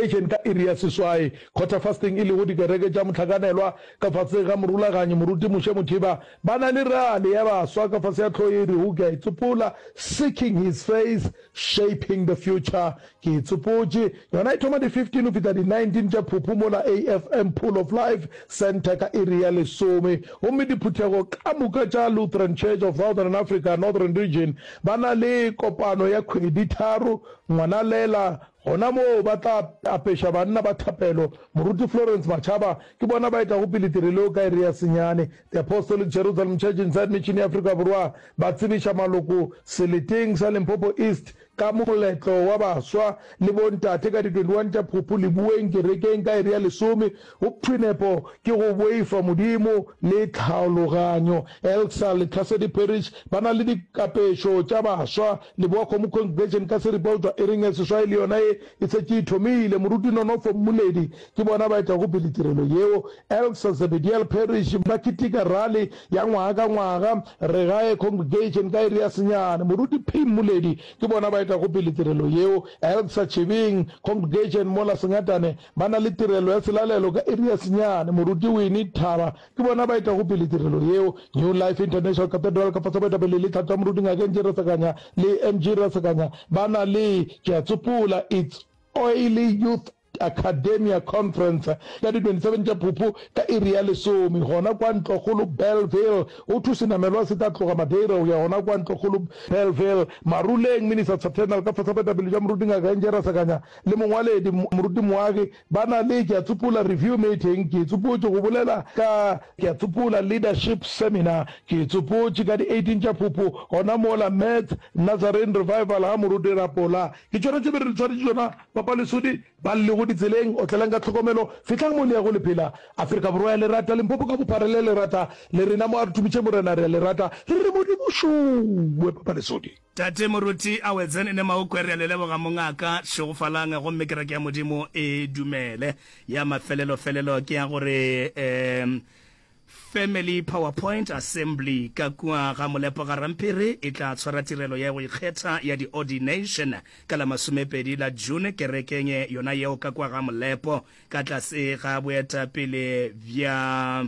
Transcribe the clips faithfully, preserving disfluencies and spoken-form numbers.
Congregation ka iri ya seswai. Quarter Fasting e lego dikereke tša mohlakanelwa ka fase ga morulaganyi Moruti Moshe Mothiba ba na le rally ya baswa ka fase ya hlogo ye e rego Ke a Itsopola, Seeking His Face, Shaping the Future. Ke e tsopotše. Yona e thoma di fifteen go fihla di nineteen tša Phuphu mola A F M Pool of Life Centre ka iri ya lesome. Gomme diphuthego ka moka tša Lutheran Church of Southern Africa Northern Region ba na le kopano ya kgwedi tharo Ngwanalela. Gona moo ba tla apeša banna ba thapelo. Moruti Florence Machaba ke bona ba etago pele tirelo yeo ka iri ya senyane. The Apostolic Jerusalem Church Inside Mission ya Afrika Borwa ba tsebiša maloko seleteng sa Limpopo East ka moletlo wa baswa le bontate ka di twenty one tša Phuphu Leboeng kerekeng ka iri ya lesome. Go thwe nepo ke go boifa Modimo le tlhaologanyo. Elsa Lethasedi Parish ba na le dikapešo tša baswa. Leboakgomo Congregation ka seripa go tšwa iring ya seswai le yona e e šetše e thomile. Moruti Nonofo Mmoledi ke bona ba etago pele tirelo yeo. Elsa Zebediel Parish ba keteka rally ya ngwaga ka ngwaga Regae Congregation ka iri ya senyane. Moruti P Mmoledi ke bona ba etago pele tirelo yeo. Elsa Chebeng Congregation mola Sengatane ba na le tirelo ya selalelo ka iri ya senyane. Moruti Winnie Thaba ke bona ba etago pele tirelo yeo. New Life International Cathedral ka fase boetapele le tlhahlo ya Moruti Ngaka N G Rasakanya le M G Rasakanya ba na le, ke a tsopola, It's Oily Youth Academia Conference ka di twenty seven tša Phuphu ka iri ya lesome gona kwa Ntlokgolo Bellville. Go thwe senamelwa se tla tloga Madeira go ya gona kwa Ntlokgolo Bellville. Maruleng Ministers Fraternal ka fase boetapele bja Moruti Ngaka N J Rasakanya le mongwaledi Moruti Moagi ba na le, ke a tsopola, review meeting, ke tsopotše go bolela ka, ke a tsopola, leadership seminar, ke tsopotše ka di eighteen tša Phuphu gona mola Mets Nazarene Revival ga Moruti Rapola. Ke tšona tše be re le tshwaretše tšona, Papa Lesodi, ba llego ditseleng, otlelang ka tlhokomelo, fihlang mo le yago le phela. Afrika Borwa ya le rata, Limpopo ka bophara le a le rata, le rena mo a re tumiše Morena re a le rata, re re Modimo šowe, Papa Lesodi. Tate Moruti Awetsen ne Maokwe re a le leboga mongaka, šegofalang gomme kereke ya Modimo e dumele. Ya mafelelo-felelo ke ya gore um Family PowerPoint Assembly ka kua ga Molepo ga Rampiri e tla tshwara tirelo ya go ikgetha ya di-ordination ka la masomepedi la June kerekeng yona yeo ka kua ga Molepo ka tlase ga boetapele bja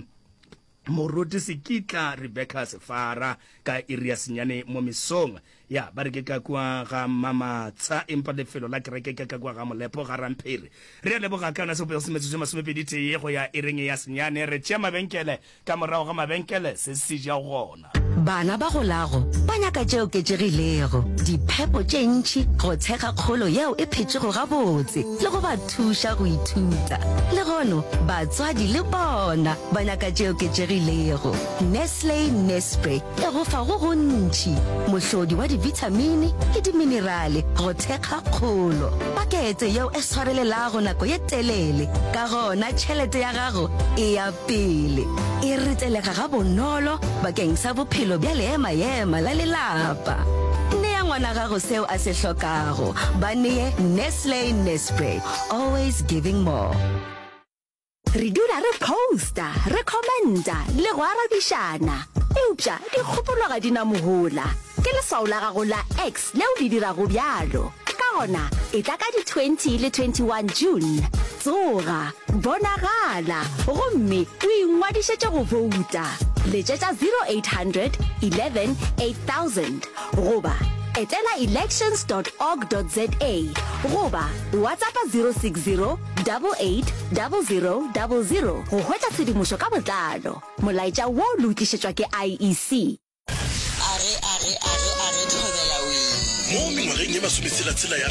Moruti Sekitla Rebecca Sefara ka iri ya senyane mo mesong. Ya ba re ke ka kua ga Mamatsha, empa lefelo la kereke ke ka kua ga Molepo ga Ramphiri. Re a leboga ka yona sebopego se metsotso e masomepedi tee go ya iring ya senyane. Re tšea mabenkele, ka morago ga mabenkele se se ja gona. Bana ba golago ba nyaka tše oketšegilego, diphepo tše ntši go thekga kgolo yeo e phetšego gabotse le go ba thuša go ithuta. Lehono batswadi le bona ba nyaka tše oketšegilego. Nestle Nespre e go fa go gontši, mohlodi wa dibithamini le diminerale go thekga kgolo. Pakete yeo e swarelelago nako ye telele, ka gona tšhelete ya gago e ya pele. E retelega gabonolo bakeng sa bophelo bja leema-ema la lelapa. Nea ngwana gago seo a se hlokago. Ba nee Nestle Nespre, always giving more. Re dula re posta, re commenta le go arabišana. Eupša dikgopolo ga di na mohola. Ke leswao la gago la X leo le dirago bjalo. Ka gona, etla ka di twenty le twenty one June. Tsoga, bonagala, gomme o ingwadišetše go bouta. Letšetša zero eight hundred eleven eight thousand goba etela elections dot org dot za goba WhatsApp zero six zero eight eight zero zero zero go hwetša tshedimošo ka botlalo. Molaetša wo le o tlišetšwa ke I E C. Are are are are thobela wee. Mo mengwageng ye masometshela-tshela ya